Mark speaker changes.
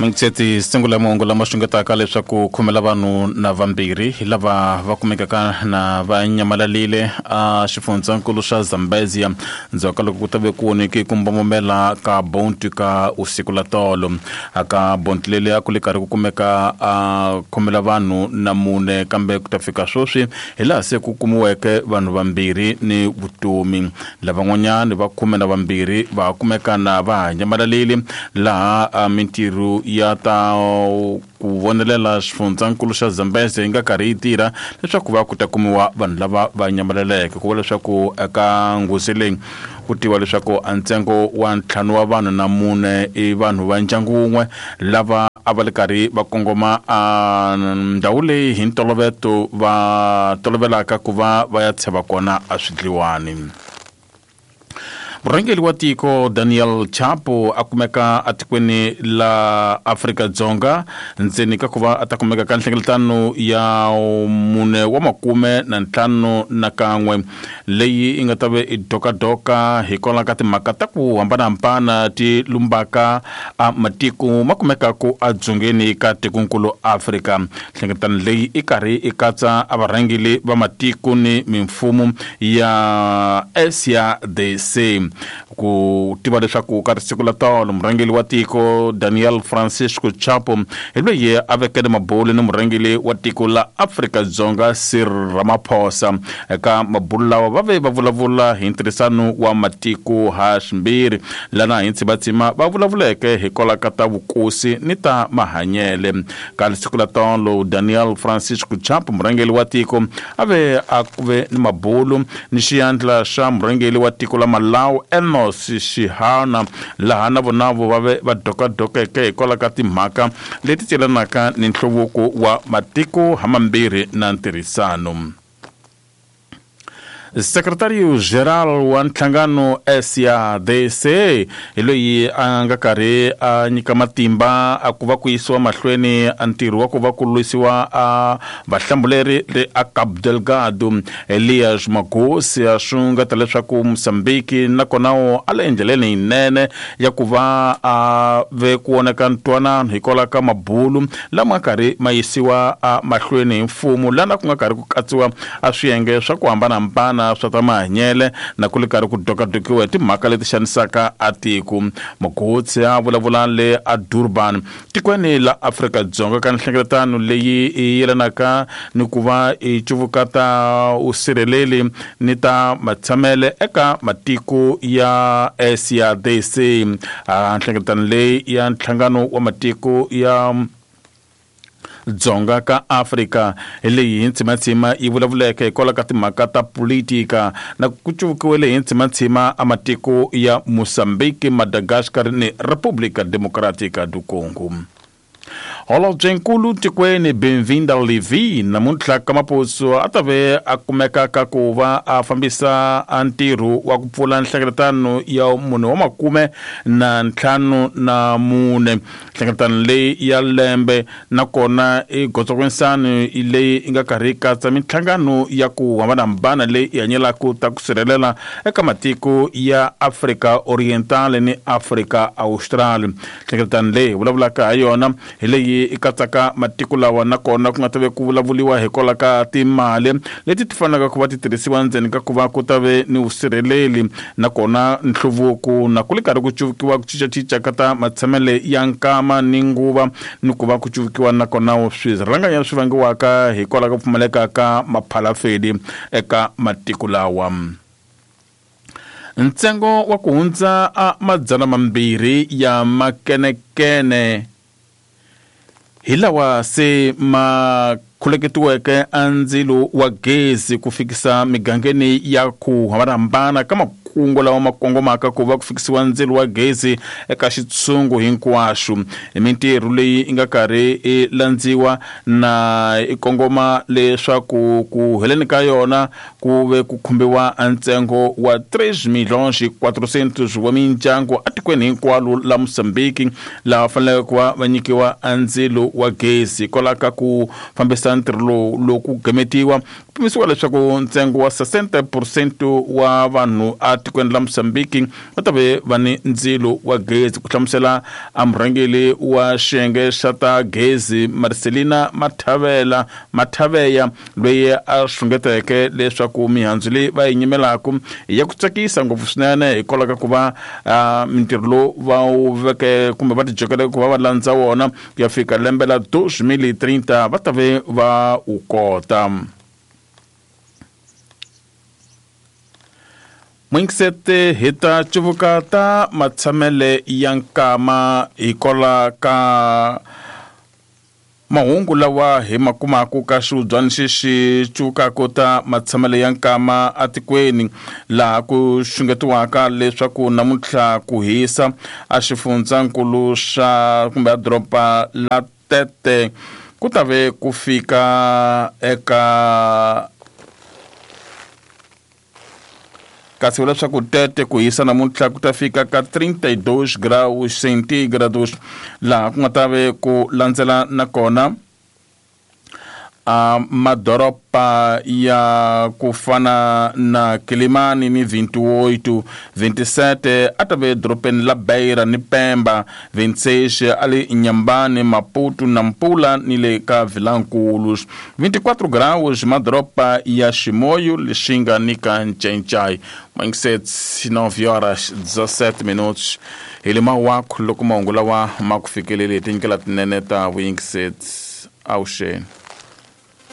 Speaker 1: Mingitseti sungula mahungu lama xungetaka leswaku khomela vanhu na vambirhi hi lava va kumekaka na va nyamalalile a xifundzankulu xa Zambezia ndzhaku ka loko ku ta ve ku onheke ku mbombomela ka bonti ka usiku la tolo. Aka bonti leri a ku le karhi ku kumeka a khomela vanhu na mune, kambe ku ta fika sweswi hi laha se ku kumiweke vanhu vambirhi ni vutomi. Lavan'wanyana va 12 va kumeka na va ha nyamalalile, laha mintirho ya ta ku vonelela xifundzankulu xa Zambezi yi nga karhi yi tirha leswaku va ku ta kumiwa vanhu lava va nyamalaleke. Ku vula leswaku eka nghozi leyi ku tiviwa leswaku a ntsengo wa 5 wa vanhu na 4 i vanhu va ndyangu wun'we lava a va le karhi va kongoma a ndhawu leyi hi ntoloveto va tolovelaka ku va va ya tsheva kona a swidliwani. Murhangeri wa tiko Daniel Chapo a kumeka atikweni la Afrika-Dzonga ndzeni ka ku va a ta kumeka ka nhlengeletano ya 4 wa 51 leyi yi nga ta ve i dokadoka hikwalaho ka timhaka ta ku hambanahambana ti lumbaka a matiko ma kumekaku edzongeni ka tikonkulu Afrika. Nhlengeletano leyi i karhi i katsa a varhangeri va matiko ni mimfumo ya SADC. Ku tiva leswaku ka risiku la tolo murhangeri wa tiko Daniel Francisco Chapo hi loyi a vekele mabulu ni murhangeri wa tiko la Afrika-Dzonga Cyril Ramaphosa. Eka mabulu lawa va ve va vulavula hi ntirhisano wa matiko ha swimbirhi, lana hi ntsibatsima va vulavuleke hikwalaho ka ta vukosi ni ta mahanyele. Ka risiku la tolo Daniel Francisco Chapo murhangeri wa tiko a ve a ku ve ni mabulu ni xiyandla xa murhangeri wa tiko la Malawi Enos Chihana, laha na vona vo va ve va dokadokeke hikwalaho ka timhaka leti celanaka ni nhluvuko wa matiko hamambirhi na ntirhisano. Secretario General wa nhlangano SADC hi loyi a nga karhi a nyika matimba a ku va ku yisiwa mahlweni a ntirho wa ku va ku lwisiwa a vahlambuleri le a Cabo Delgado. Elias Magosi a xungeta leswaku Mozambique nakona a le endleleni yinene ya ku va a ve ku vonaka ntwanano hikwalaho ka mabulu lama karhi ma yisiwa a mahlweni hi mfumo, lana ku nga karhi ku katsiwa a swiyenge swa ku hambanahambana swa ta mahanyele na ku le karhi ku dokadokiwa hi timhaka leti xanisaka a tiko. Mogotsi a vulavula le a Durban tikweni la Afrika-Dzonga ka nhlengeletano leyi yi yelanaka ni ku va yi cuvuka ta vusirheleli ni ta matshamele eka matiko ya SADC. Nhlengeletano leyi ya nhlangano wa matiko ya Dzonga ka Afrika hi leyi hi ntsimatsima yi vulavuleke hikwalaho ka timhaka ta politika na ku cuvukiwele hi ntsimatsima a matiko ya Mozambique, Madagascar ni República Democrática do Congo. Holobyenkulu tikweni Benvinda Levi namuntlha ka Mapuso a ta ve a kumeka ka ku va a fambisa a ntirho wa ku pfula nhlengeletano ya 4 wa 54. Nhlengeletano leyi ya lembe nakona i gotsokwinsano leyi yi nga karhi yi katsa minhlangano ya ku hambanahambana leyi yi hanyelaka ta ku sirhelela eka matiko ya Afrika Oriental ni Afrika Austral. Nhlengeletano leyi hi vulavulaka ha yona hi leyi yi katsaka matiko lawa nakona ku nga ta ve ku vulavuliwa hikwalaho ka timali leti ti fanelaka ku va ti tirhisiwa ndzeni ka ku va ku ta ve ni vusirheleli nakona nhluvuko na ku le karhi ku cuvukiwa ku cincacinca ka ta matshamele ya nkama ni nguva ni ku va ku cuvukiwa nakona swirhanganya swi vangiwaka hikwalaho ka ku pfumaleka ka maphalafeli eka matiko lawa. Ntsengo wa ku hundza a 200 ya makenekene hi lawa se ma khuleketiweke a ndzilo wa gezi ku fikisa migangeni ya ku hambanahambana ka makungu lawa ma kongomaka ku va ku fikisiwa ndzilo wa gezi eka xitshungu hinkwaxo. Hi mintirho leyi yi nga karhi yi landziwa na yi kongoma leswaku ku heleni ka yona ku ve ku khumbiwa a ntsengo wa 3 milhões 400 wa mindyangu atikweni hinkwalo la Mozambique laha faneleke ku va va nyikiwa a ndzilo wa gezi. Hikwalaho ka ku fambisa ntirho lowu loku gemetiwa, ku pimisiwa leswaku ntsengo wa 60% wa vanhu a tikweni la Mozambique va ta ve va ni ndzilo wa gezi, ku hlamusela a murhangeri wa xiyenge xa ta gezi Marcelina Mathavela Mathaveya, loyi a xungeteke leswaku mihandzu leyi va yi nyimelaka ya ku tsakisa ngopfu swinene hikwalaho ka ku va mintirho lowu va wu veke kumbe va tijokeleke ku va va landza wona ku ya fika lembe la 2030 va ta ve va wu kota. Mwingisete hi ta cuvuka ta matshamele ya nkama hikwalaho ka mahungu lawa hi ma kumaka ka xivubyana xexi cuvukaka ta matshamele ya nkama atikweni, laha ku xungetiwaka leswaku namuntlha ku hisa a xifundzankulu xa kumbe a doroba la Tete ku ta ve ku fika eka kasi vula leswaku Tete ku hisa namuntlha ku ta fika ka 32 graus centigrados, laha ku nga ta ve ku landzela nakona a madoroba ya ku fana na Kilimani ni 28, 27 a ta ve dorobeni la Beira ni Pemba, 26 a le Nyambani, Maputo, Nampula ni le ka Vilankulu, 24 graus madoroba ya Chimoio, Lixinga ni ka Ncencai. Mangisets 9 horas 17 minutos hi le mawaku loko mahungu lawa ma ku fikeleli hi tindlela tinene ta vuyingiseti. Avuxeni.